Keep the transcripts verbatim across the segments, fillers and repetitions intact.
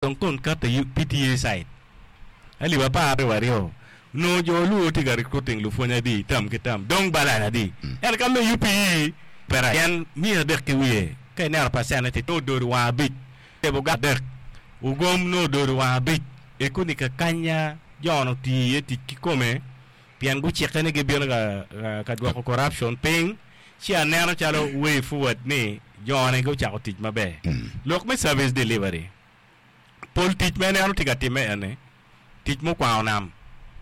Dong kon kato i P T A side alip apar aryo aryo onongo jo Luo tye ka recruiting lupwony adi tam ki tam dong balan adi ento ka me U P E pera en miya adek ki wiye ka ineno percent ti nongo ododo wang abic tebo adek ugom nongo ododo wang abic ekoni kakanya jono otiyo iye tic kikome pien gucikke ni gibino ka, ka, ka dwoko corruption piny ci aneno calo way forward ni jone gucako tic maber. Lok me service delivery, pol tic ma ineno tye ka timme ene tic mukwango nam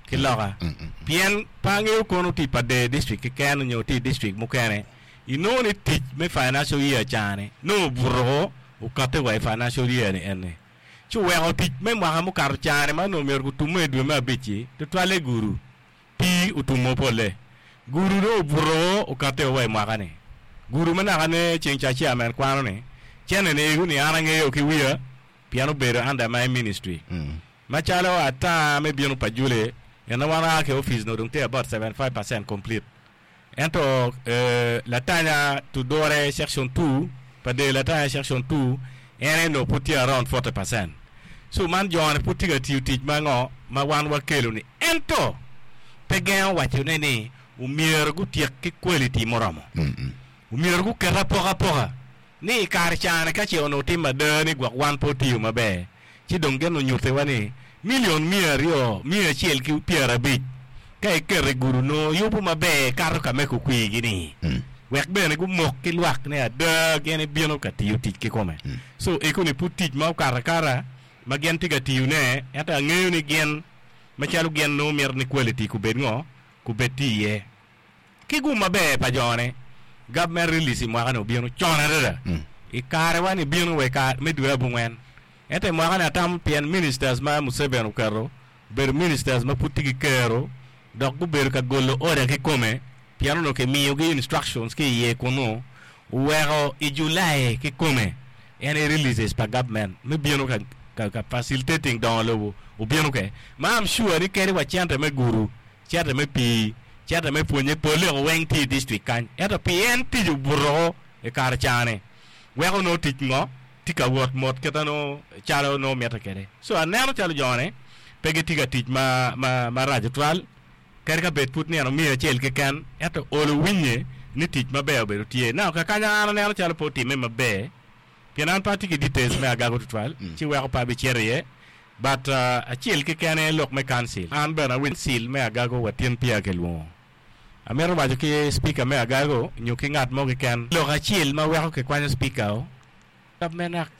ki loka pien pe angeyo kono tye pa Deyo district keken nyo tye i district mukene inongo ni tic me financial year cani nongo obuto okatte wa i financial year ni ene ci oweko tic me mwaka mukato cani ma onongo myero gutumme i dwe me abic-ci tutwalle guru pii otumo polle guru dong obuto okatte wa i mwaka-ni guru ma naka ne ceng ca chairman kwano ni cene ni ego ni an angeyo ki wiya pien obedo under my ministry macalo ata me bino pa Jule en wan aa ki office no dong tye about seventy-five percent complete ento eh, latanya tudore section two pa del latanya section two en eno pud tye around forty percent. So man jone pud tye ka tiyo tic ma ngo ma wan wakelo ni ento pe gengo wacone ni omyero gutyek ki quality moromo, omyero guket apokapoka ni i kare cane ka ce onongo timo ada ni gwok wan pe otiyo maber ci dong gin onyutiwa ni milion mia aryo mia acel ki pyerabic ka iketo i gudu nongo yubo maber kato ka me kukwigi ni wek bene gumok ki lwak ni ada gin ibino ka tiyo tic kikome. So ekoni pud tic ma okato akata ma gin tye ka tiyone ento angeyo ni gin macalo gin nongo mito ni quality kubed ngo kubed tye iye ki gum maber pa jone. Government release i mwaka ni obino con adada i karewa ni bino wa i kare me dwe abongwen ento i mwaka ni atamo pien ministers ma Museveni oketo obedo ministers ma pud tye ki kero dok gubedo ka golo order kikome pien onongo kimiyogi instructions ki iye kunu oweko i July kikome en i releases pa government me bino ka, ka, ka facilitating dongo lobo obino ke ma I'm sure ni kadi wa cente me guru, cente me pii, cente me pwonye pole ko weng tye i district kany ento pien tic obuto i kare cane weko nongo tic ngo tye ka wot mot kite nongo calo nongo mitte kwede. So aneno calo jone pe gitye ka tic ma, ma, marac tutwal kadi ka bed pud nino miya acel keken ento olo winye ni tic maber obedo tye. Now kakanya an aneno calo pe otimme maber pien an pe atye ki details me agago tutwal ci weko pe abicito iye but uh, acel keken aye lok me council. An bene awinyo council me agago watin peya kilwongo amito waco ki speaker me agago nyo ki ngat mo keken lok acel ma weko kikwanyo speaker o government act